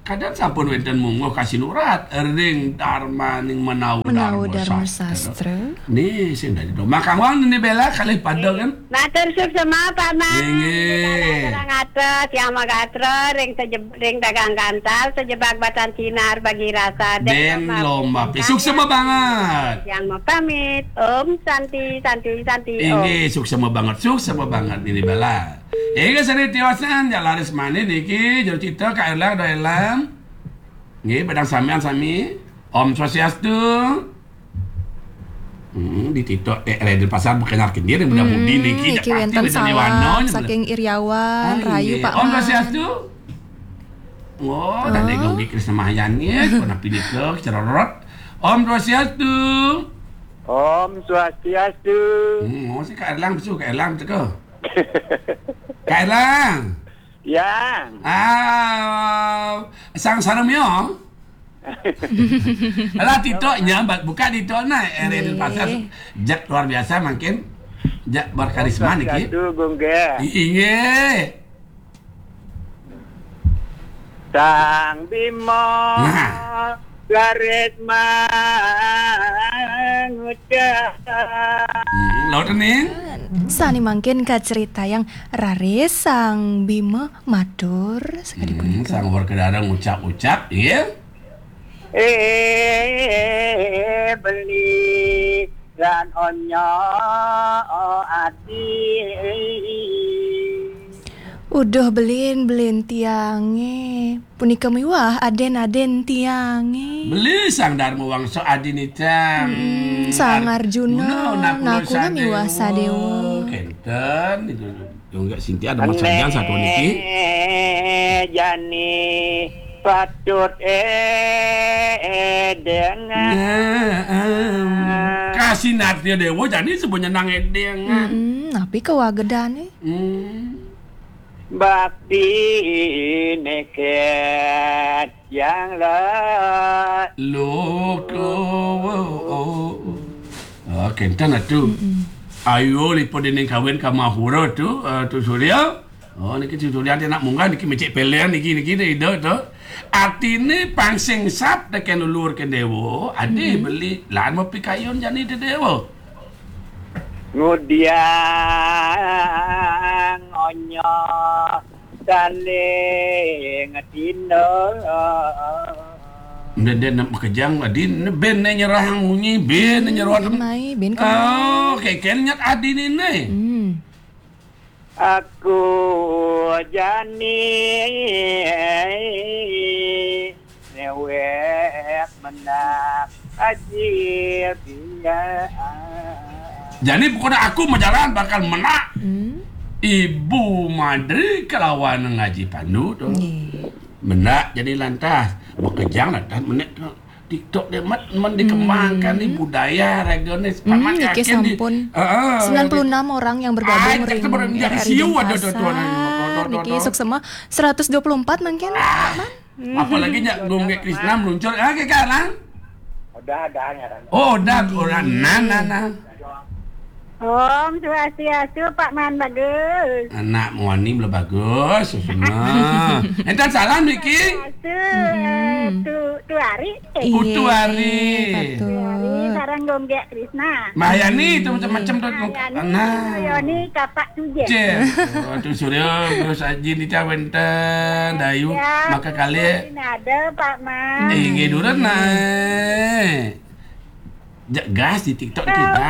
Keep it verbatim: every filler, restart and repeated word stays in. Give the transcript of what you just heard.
Kadang sampun wénten mungguh kasinurat ring Darmaning Menawi Menawi Darma Sastra. Darma Sastra. Nih, sing dadi domah kawon ini Bella kalih pada kan? Matur suksema, Pak Man. Inggih. Sareng atur, tiang magatra ring sejeb-, ring dagang kantal, sejebag batan sinar bagi rasa. Dén lomba pi. Suksema banget. Tiang mapamit. Om Santi, Santi, Santi, Om. Inggih, suksema banget, suksema banget ini Bella. Inggih, sane tiosan, jak laris manis niki, jero cita, Kak Erlang, Doh Erlang. Nggih, padang sampean sami. Om Swastiastu. Hmm, di TikTok, eh, Raden Pasar bukan arep kendir, mudah mudi niki, jak pasti wénten salam saking Iriawan, ah, rahayu, inggih. Pak Man. Om Swastiastu. Oh, dan Gung Krisna Mahyani, ya, pernah pindah ke Cerorot. Om Swastiastu. Om Swastiastu. Hmm, oh, si Kak Erlang, besu, Kak Erlang, teko. Kak Erlang. Yang. Ah, sang sareng mio. Alah, TikToknya, buka TikTok nah, Eri Pasar. Jak luar biasa makin. Jak berkarisma niki. Satu, Gung, nggih. Inggih. Sang Bima. Nah. Garis mangucap. Hmm, laut ning. Sane mangkin kacritayang raris Sang Bima matur sakadi punika. Sang Werkudara ngucap-ucap, nggih. Eh, beli lan onya, oh, adi. Uduh belin, belin tiange. Punika miwah aden-aden tiange. Beli Sang Darma Wangsa adin icang. Hmm, Sang Arjuna, Arjuna, Nakula, Nakula miwah Sadewa. Kenten itu. Yo enggak Sintia ada Mas Sajan satu niki. Jani patut, eh, eh, dengan. Nah, em. Kasih Nartia Dewa jani sebenarnya nang edeng. Mm-mm, napi kawagedane? Hmm. Bakti neket yang la. Loko. Oh, kenten atu. Mm-mm. Ayo, liput dening kawin ka Mahura tu, eh, Tu Surya. Oh, niki Tu Surya anak munggah, niki mecik pelen, niki, niki, ida tu. Artine pang sing sap teken lulur ke dewa, adi beli lan mapikayun jani te dewa. Ngudiang onya saling tindal. Ndén-ndén makejang adi, ben nyerahang munyi, ben nyerahang. Mai, ben. Oh, keken nyat adi nine. Hmm. Aku jani newek menak ajil dia. Jani pokoknya aku majalan bakal menak. Hmm. Ibu Madri kelawan ngaji pandu tu. Nggih. Menak jani lantas. Makejang lantas menek tu. TikTok dia mat men dikembangkan ni budaya ragane. Hmm, niki sampun. Heeh. Sembilan puluh enam orang yang bergabung ring R R I Denpasar. Niki suksema seratus dua puluh empat mungkin, Pak Man. Apalagi nyak Gung Krisna meluncur. Ah, ke kanan. Udah, udah, ya, kan. Oh, udah, udah. Nah, nah, nah. Om Swastiastu, Pak Man bagus. Anak muani mula bagus, semua. Enten salam niki. Swastiastu, eh, Tu, Tu Ari. Eh. Putu Ari. Iya, Pak Tu. Tu Ari, sareng Gung Gek Krisna. Mahyani itu macam-macam tu. Mahyani, nah. Yoni, Kapak Tuje. Cek. Oh, Tu Surya, terus Aji ni cah wenten, Dayu, ya, maka kali. Ada, Pak Man. Eh, nggih, durun, nah. Jak gas di TikTok niki, gas.